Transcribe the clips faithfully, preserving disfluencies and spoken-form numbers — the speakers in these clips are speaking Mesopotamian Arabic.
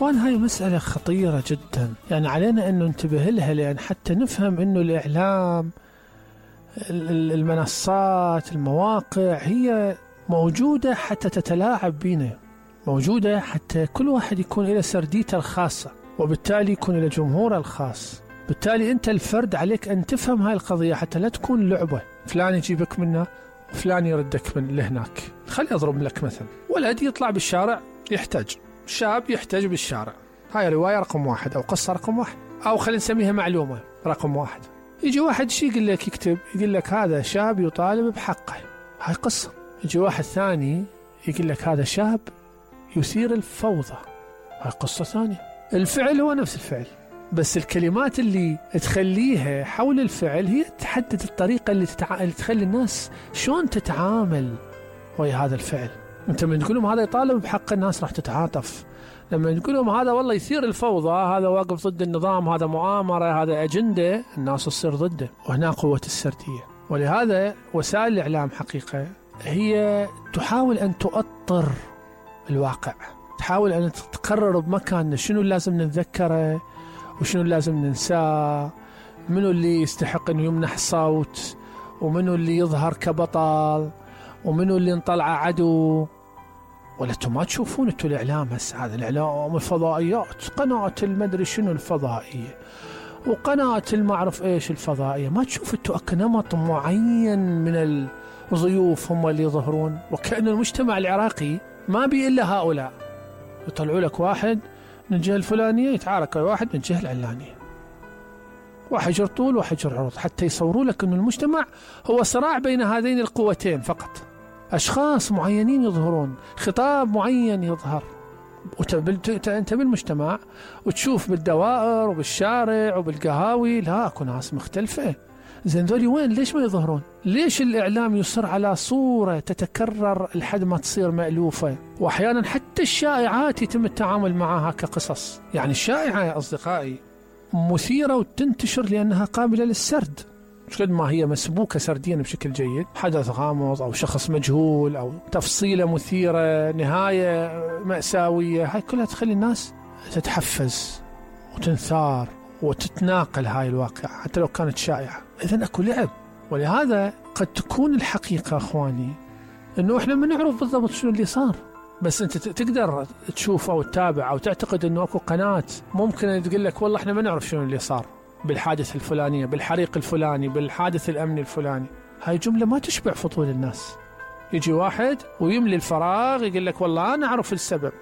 إخوان هاي مسألة خطيرة جدا، يعني علينا أن ننتبه لها، لأن حتى نفهم أنه الإعلام، المنصات، المواقع هي موجودة حتى تتلاعب بينا، موجودة حتى كل واحد يكون إلى سرديته الخاصة، وبالتالي يكون إلى جمهوره الخاص. بالتالي أنت الفرد عليك أن تفهم هاي القضية حتى لا تكون لعبة، فلان يجيبك منه وفلان يردك من لهناك. خلي أضرب لك مثل، ولد يطلع بالشارع يحتاج، شاب يحتاج بالشارع، هاي رواية رقم واحد أو قصة رقم واحد، أو خلينا نسميها معلومة رقم واحد. يجي واحد شي يقول لك، يكتب يقول لك هذا شاب يطالب بحقه، هاي قصة. يجي واحد ثاني يقول لك هذا شاب يثير الفوضى، هاي قصة ثانية. الفعل هو نفس الفعل، بس الكلمات اللي تخليها حول الفعل هي تحدد الطريقة اللي, تتع... اللي تخلي الناس شلون تتعامل ويا هذا الفعل. انت من تقول لهم هذا يطالب بحق، الناس راح تتعاطف. لما تقول لهم هذا والله يثير الفوضى، هذا واقف ضد النظام، هذا مؤامرة، هذا أجندة، الناس تصير ضده. وهنا قوة السردية. ولهذا وسائل الإعلام حقيقة هي تحاول أن تؤطر الواقع، تحاول أن تقرر بمكاننا شنو لازم نتذكره وشنو لازم ننساه، منو اللي يستحق أن يمنح صوت، ومنو اللي يظهر كبطل، ومنو اللي نطلع عدو. ولا انتم ما تشوفون انتم الإعلام هسه، هذا الإعلام الفضائيات، قناة المدري شنو الفضائية وقناة المعرف ايش الفضائية، ما تشوف انتم نمط معين من الضيوف هم اللي يظهرون، وكأن المجتمع العراقي ما بي إلا هؤلاء. يطلعوا لك واحد من الجهة الفلانية يتعارك مع واحد من الجهة العلانية، واحد يجر طول واحد يجر عرض، حتى يصوروا لك أن المجتمع هو صراع بين هذين القوتين فقط. أشخاص معينين يظهرون، خطاب معين يظهر، وأنت بالمجتمع وتشوف بالدوائر وبالشارع وبالقهاوي لا أكو ناس مختلفة. زين ذولي وين؟ ليش ما يظهرون؟ ليش الإعلام يصر على صورة تتكرر لحد ما تصير مألوفة؟ وأحيانا حتى الشائعات يتم التعامل معها كقصص. يعني الشائعة يا أصدقائي مثيرة وتنتشر لأنها قابلة للسرد، مش قد ما هي مسبوكة سرديا بشكل جيد، حدث غامض أو شخص مجهول أو تفصيلة مثيرة، نهاية مأساوية، هاي كلها تخلي الناس تتحفز وتنثار وتتناقل هاي الواقع حتى لو كانت شائعة. إذن أكو لعب. ولهذا قد تكون الحقيقة أخواني إنه إحنا ما نعرف بالضبط شنو اللي صار، بس أنت تقدر تشوف أو تتابع أو تعتقد إنه أكو قناة ممكن تقول لك والله إحنا ما نعرف شنو اللي صار بالحادث الفلانية، بالحريق الفلاني، بالحادث الأمني الفلاني. هاي جملة ما تشبع فضول الناس. يجي واحد ويملي الفراغ يقول لك والله أنا أعرف السبب،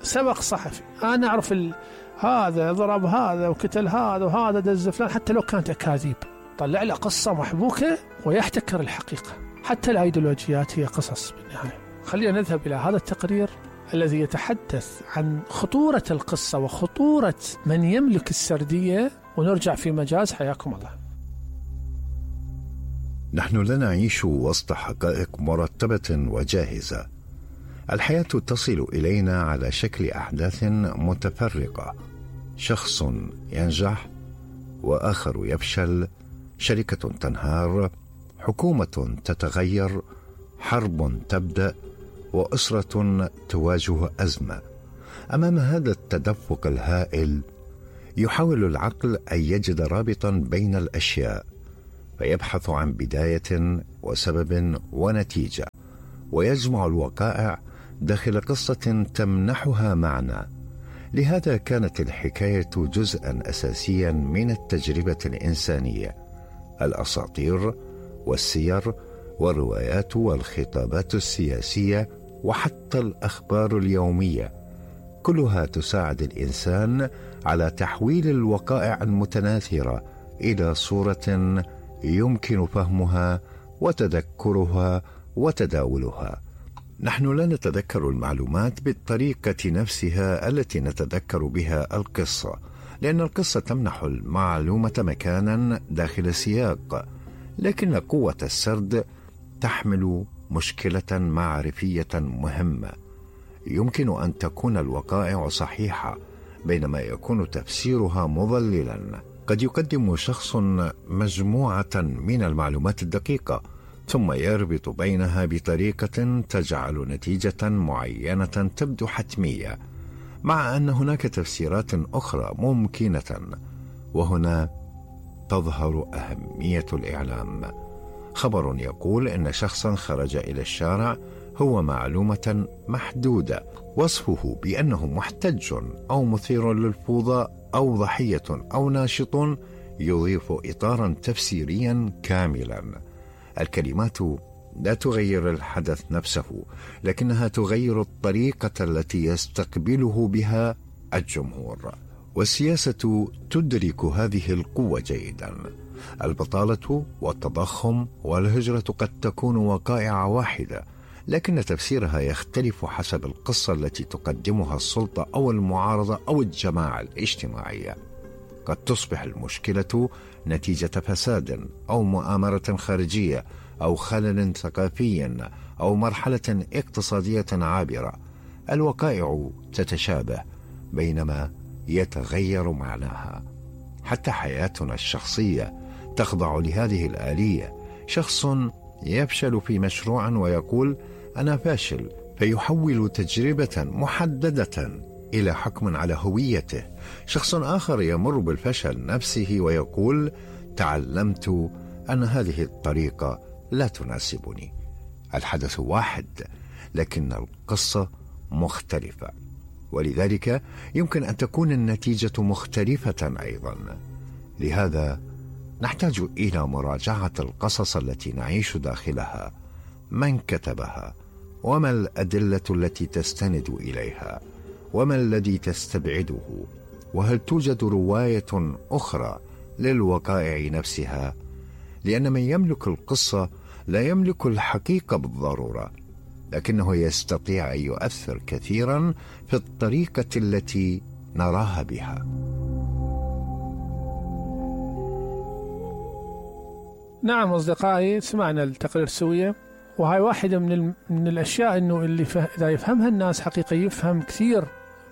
سبق صحفي، أنا أعرف ال... هذا ضرب هذا وقتل هذا وهذا دز فلان، حتى لو كانت أكاذيب طلع له قصة محبوكة ويحتكر الحقيقة. حتى الأيديولوجيات هي قصص بالنهاية. خلينا نذهب إلى هذا التقرير الذي يتحدث عن خطورة القصة وخطورة من يملك السردية، ونرجع في مجاز. حياكم الله. نحن لا نعيش وسط حقائق مرتبة وجاهزة. الحياة تصل إلينا على شكل أحداث متفرقة، شخص ينجح وآخر يفشل، شركة تنهار، حكومة تتغير، حرب تبدأ، وأسرة تواجه أزمة. أمام هذا التدفق الهائل يحاول العقل أن يجد رابطا بين الأشياء، فيبحث عن بداية وسبب ونتيجة، ويجمع الوقائع داخل قصة تمنحها معنى. لهذا كانت الحكاية جزءا أساسيا من التجربة الإنسانية. الأساطير والسير والروايات والخطابات السياسية وحتى الأخبار اليومية كلها تساعد الإنسان على تحويل الوقائع المتناثرة إلى صورة يمكن فهمها وتذكرها وتداولها. نحن لا نتذكر المعلومات بالطريقة نفسها التي نتذكر بها القصة، لأن القصة تمنح المعلومة مكانا داخل سياق، لكن قوة السرد تحمل مشكلة معرفية مهمة. يمكن أن تكون الوقائع صحيحة بينما يكون تفسيرها مضللا. قد يقدم شخص مجموعة من المعلومات الدقيقة ثم يربط بينها بطريقة تجعل نتيجة معينة تبدو حتمية، مع أن هناك تفسيرات أخرى ممكنة، وهنا تظهر أهمية الإعلام. خبر يقول إن شخصا خرج إلى الشارع هو معلومة محدودة، وصفه بأنه محتج أو مثير للفوضى أو ضحية أو ناشط يضيف إطارا تفسيريا كاملا. الكلمات لا تغير الحدث نفسه، لكنها تغير الطريقة التي يستقبله بها الجمهور. والسياسة تدرك هذه القوة جيدا. البطالة والتضخم والهجرة قد تكون وقائع واحدة، لكن تفسيرها يختلف حسب القصة التي تقدمها السلطة أو المعارضة أو الجماعة الاجتماعية. قد تصبح المشكلة نتيجة فساد أو مؤامرة خارجية أو خلل ثقافي أو مرحلة اقتصادية عابرة. الوقائع تتشابه بينما يتغير معناها. حتى حياتنا الشخصية تخضع لهذه الآلية. شخص يفشل في مشروع ويقول أنا فاشل، فيحول تجربة محددة إلى حكم على هويته. شخص آخر يمر بالفشل نفسه ويقول تعلمت أن هذه الطريقة لا تناسبني. الحدث واحد، لكن القصة مختلفة، ولذلك يمكن أن تكون النتيجة مختلفة أيضا. لهذا نحتاج إلى مراجعة القصص التي نعيش داخلها. من كتبها؟ وما الأدلة التي تستند إليها؟ وما الذي تستبعده؟ وهل توجد رواية أخرى للوقائع نفسها؟ لأن من يملك القصة لا يملك الحقيقة بالضرورة، لكنه يستطيع أن يؤثر كثيرا في الطريقة التي نراها بها. نعم أصدقائي، سمعنا التقرير سوية، وهاي واحدة من, ال... من الأشياء إنه اللي فه... إذا يفهمها الناس حقيقة يفهم كثير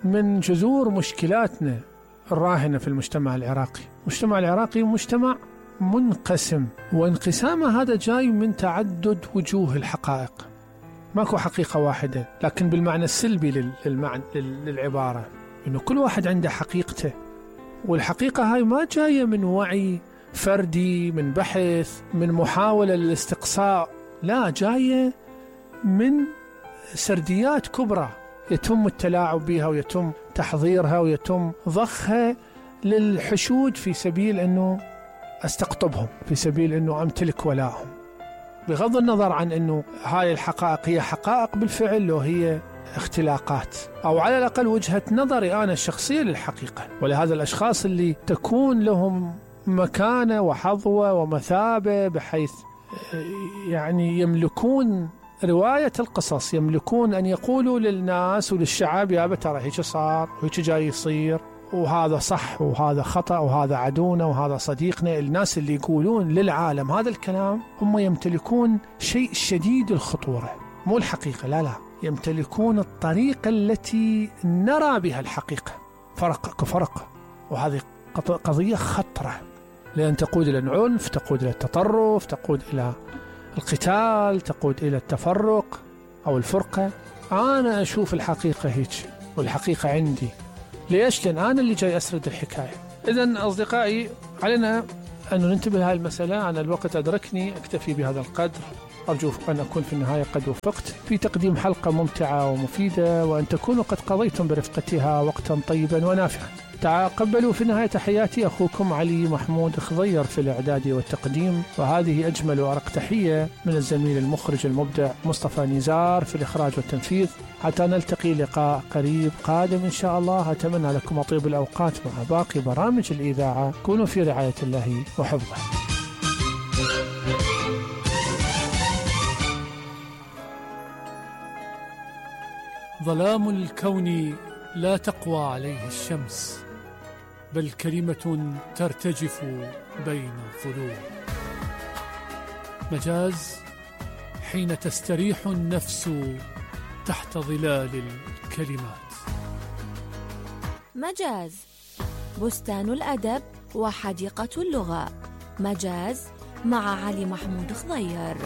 من جذور مشكلاتنا الراهنة في المجتمع العراقي. المجتمع العراقي مجتمع منقسم، وانقسامه هذا جاي من تعدد وجوه الحقائق. ماكو حقيقة واحدة، لكن بالمعنى السلبي لل... للمعنى... لل... للعبارة، إنه كل واحد عنده حقيقته، والحقيقة هاي ما جاية من وعي فردي، من بحث، من محاولة للاستقصاء، لا، جاية من سرديات كبرى يتم التلاعب بها ويتم تحضيرها ويتم ضخها للحشود في سبيل أنه أستقطبهم، في سبيل أنه أمتلك ولاءهم، بغض النظر عن أنه هاي الحقائق هي حقائق بالفعل لو هي اختلاقات، أو على الأقل وجهة نظري أنا الشخصية للحقيقة. ولهذا الأشخاص اللي تكون لهم مكانة وحظوة ومثابة بحيث يعني يملكون رواية القصص، يملكون أن يقولوا للناس وللشعب يا ترى هيك صار وهيك جاي يصير، وهذا صح وهذا خطأ وهذا عدونا وهذا صديقنا. الناس اللي يقولون للعالم هذا الكلام هم يمتلكون شيء شديد الخطورة، مو الحقيقة، لا لا، يمتلكون الطريقة التي نرى بها الحقيقة. فرق كفرق، وهذه قضية خطرة، لأن تقود إلى العنف، تقود إلى التطرف، تقود إلى القتال، تقود إلى التفرق أو الفرقة. أنا أشوف الحقيقة هيك، والحقيقة عندي. ليش؟ لأن أنا اللي جاي أسرد الحكاية. إذن أصدقائي، علينا أن ننتبه لهذه المسألة. أنا الوقت أدركني، أكتفي بهذا القدر. أرجو أن أكون في النهاية قد وفقت في تقديم حلقة ممتعة ومفيدة، وأن تكونوا قد قضيتم برفقتها وقتا طيبا ونافعا. تقبلوا في النهاية تحياتي أخوكم علي محمود خضير في الإعداد والتقديم، وهذه أجمل وأرق تحية من الزميل المخرج المبدع مصطفى نزار في الإخراج والتنفيذ. حتى نلتقي لقاء قريب قادم إن شاء الله. أتمنى لكم أطيب الأوقات مع باقي برامج الإذاعة. كونوا في رعاية الله وحفظه. ظلام الكون لا تقوى عليه الشمس، بل كلمة ترتجف بين الظلوم. مجاز حين تستريح النفس تحت ظلال الكلمات. مجاز، بستان الأدب وحديقة اللغة. مجاز مع علي محمود خضير.